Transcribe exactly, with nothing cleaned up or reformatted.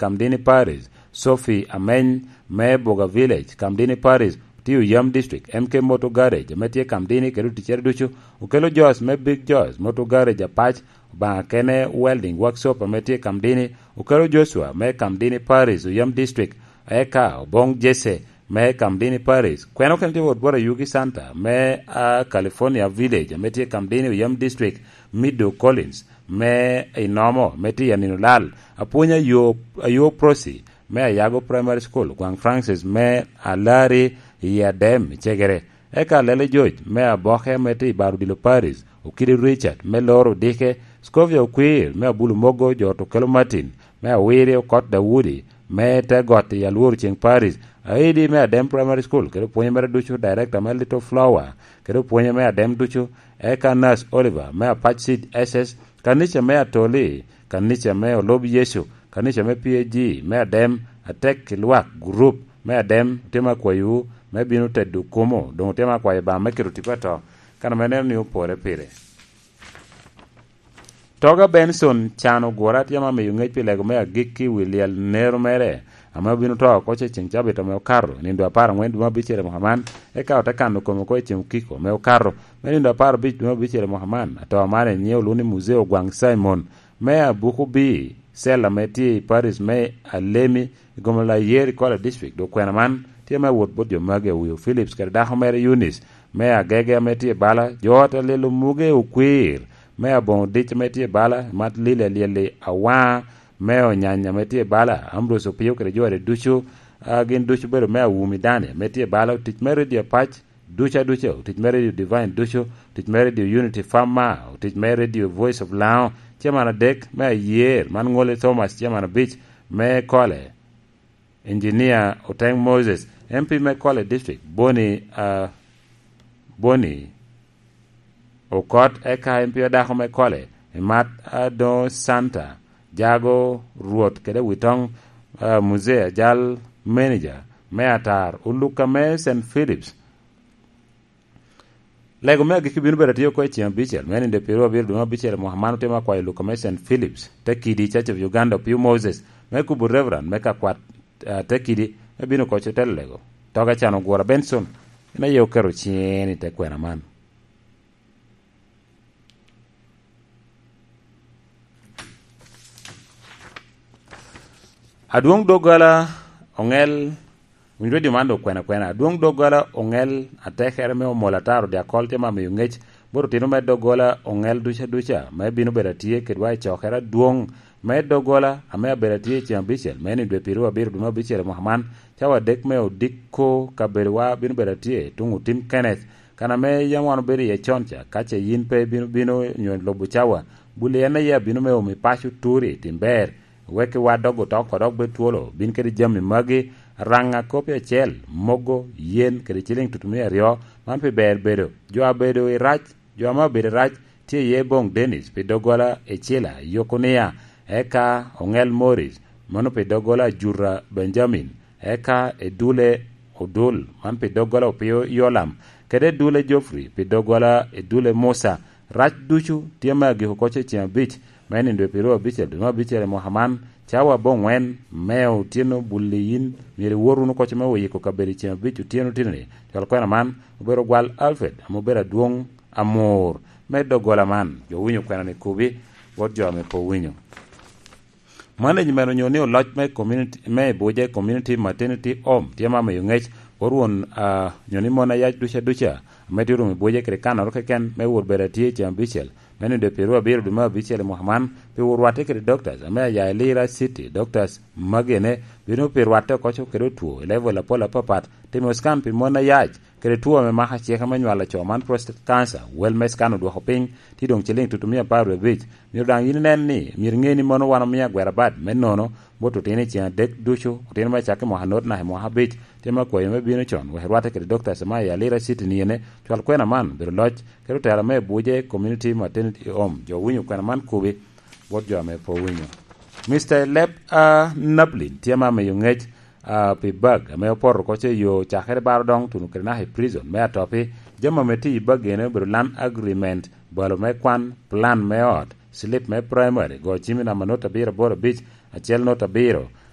Kamdini Parish, Sophie Ameny me Buga Village, Kamdini Parish, tye Oyam District, M K Motor Garage ame tye Kamdini kede oticcere ducu, Okello Jos me Big Jos Motor Garage Apac, Obaŋa Kene Welding Workshop ame tye Kamdini, Okello Joshua me Kamdini Parish, Oyam District, eka Obong Jesse me Kamdini Parish. Kweno kene tye wot bot Ayugi Santa me, ah, California Village ame tye Kamdini, Oyam District, Mido Collins me Inomo me tye i Anino Lal, apwony Ayo, Ayo Prossy me Ayago Primary School, Gwaŋ Francis me Alari i Adem i Cegere, eka Lele George me Aboke me tye i Baro Odilo Parish, Okidi Richard me Loro Dike, Scovia Okwir me Abulu Mogo, jo Otukelo Martin me Awiri, Okot Daudi me te got i Alworo Ceng Parish, Aidi me Adem Primary School, kede opwonye mere ducu, Director me Little Flower, kede opwonye me Adem ducu, eka Nurse Oliver me Apac Seed S S, kanica me Atoli, kanica me Olob Yecu, kanica me P A G me Adem, atek i lwak, gurup me Adem, otye me akwayowu me bino tedo kumo, doŋ otye me akwayo Obaŋa me keto tipo ato, kan ame neno ni opore pire. Toga Benson can ogura tye ma miyo ŋec pi lego me agikki i wi lyel nero mere, ame obino to oko ce ceŋ cabit ame okato, i nindo apar aŋwen dwe me abicel i mwaka man, eka ote kano kome oko i ceŋ okiko ame okato, me nindo apar abic dwe me abicel i mwaka man. Ato man enyiŋe olwoŋo ni Muzee Ogwaŋ Simon, me Abuku B, cell ame tye i parish me Alemi, i Gomola Yeri College District. Dok kwena man tye me wot bot jo magi, Awio Phillips kede dako mere Eunice, me Agege ame tye i bala, jo ot Alelo Muge Okwir, me Aboŋo Dic ame tye i bala, Mat Lili Alyeli Awaŋa, me Onyanya ame tye i bala, Ambrose Opio kede jo ade ducu, a, gin ducu bedo me Awumi Dani ame tye i bala, otic me Radio Apac, ducu aduca, otic me Radio Divine ducu, otic me Radio Unity Farmer, otic me Radio Voice of Lango, chairman adek me Ayer, man Ngole Thomas, chairman abic me Kole, Engineer Oteng Moses, M P me Kole District, Boni, ah, Boni Okot, eka M P odako me Kole, Imat Adongo Santa, Jago Rwot kede Witong, ah, Muzee Ajal, manager me Atar, Oluka me Saint Philips, Lego me agikki bino bedo atye oko i ceŋ abicel, me nindo pyeraryo abiro dwe me abicel i mwaka man. Otemo akwayo Luka me Saint Philips, te kidi i Church of Uganda, Opio Moses, me kubo Reverend me ka kwat, ah, te kidi, me bino koc otelo lego. Toga can ogura Benson, en aye oketo ciŋe ni te kwena man. Adwoŋ doggola oŋel, winy redio man dok kwena kwena. Adwoŋ doggola oŋel atekere me omol ataro dyakol tye ma miyo ŋec bot otino me doggola oŋel duca duca, me bino bedo atye kedwa i cokere adwoŋ me doggola ame abedo atye i ceŋ abicel, me ni dwe pyeraryo abiro dwe me abicel i mwaka man, cawa adek me odiko kabedowa bino bedo atye tuŋ otim Kenneth, kan ame yam wan obedo iye con ca, ka ce yin pe ibino bino nyo lubo cawa, buli en aye abino me omi paco turi i tim ber, wek iwa dog otok odok bed twolo, bin kede jami magi, raŋa kopi acel, mogo, yen, kede ciliŋ tutumia aryo, man pi ber bedo. Jo a bedo i rac, jo ame obedo i rac, tye iye Boŋ Dennis pi doggola i Cila, Yokunia, eka Oŋel Morris, mano pi doggola Ajuta Benjamin, eka Edule Odul, man pi doggola Opio Yolam, kede Edule Geoffrey pi doggola Edule Musa. Rac ducu tye me agiko koc i ceŋ abic, me nindo i pyeraryo abicel dwe me abicel i mwaka man, cawa aboŋwen me otyeno buli yin myero iwot wunu koc me oyiko kabedo i ceŋ abic otyeno tino-ni. Cwal kwena man obedo gwal Alfred, ame obedo adwoŋ amur me doggola man. Jo winyo kwena-ni kubi, bot jo ame pe owinyo. Management onyo ni oloc me community, me Ibuje Community Maternity Home tye ma miyo ŋec bot won, ah, onyo ni mon ayac duca duca ame tye orumo Ibuje kede kanoro keken me wot bedo atye i ceŋ abicel me nindo pyeraryo abiro dwe me abicel i mwaka man, pi wot rwatte kede doctors ame aya i Lira City. Doctors magene bino pi rwatte oko kede otwo i level apol apapat, timo scan pi mon ayac, kede two ame mako acika me nywalo co man, prostate cancer, wel me scan odwoko piny, tye doŋ ciliŋ tutumia apar wie abic. Myero daŋ yin inen ni myero iŋe ni mano wan omiyo agwera bad me nono bot otino i ceŋ adek ducu, otino me acakki mwaka anut naka i mwaka abic, tye me akwayo me bino con wek irwatte kede Doctor Semaya Lira City ni ene, cwal kwena man obedo loc kede otela me Ibuje Community Maternity Home. Jo winyo kwena man kubi bot jo ame pe owinyo. Mister Lep, ah, Nablin tye ma miyo ŋec, ah, pi bag ame opoto oko ce yo cakere baro doŋ tuno kede naka i prison me Atopi. Jami ame tye i bag ene obedo land agreement, balo me kwan, plan me ot, slip me primary, go cim i namba nut abiro aboro abic, acel nut abiro,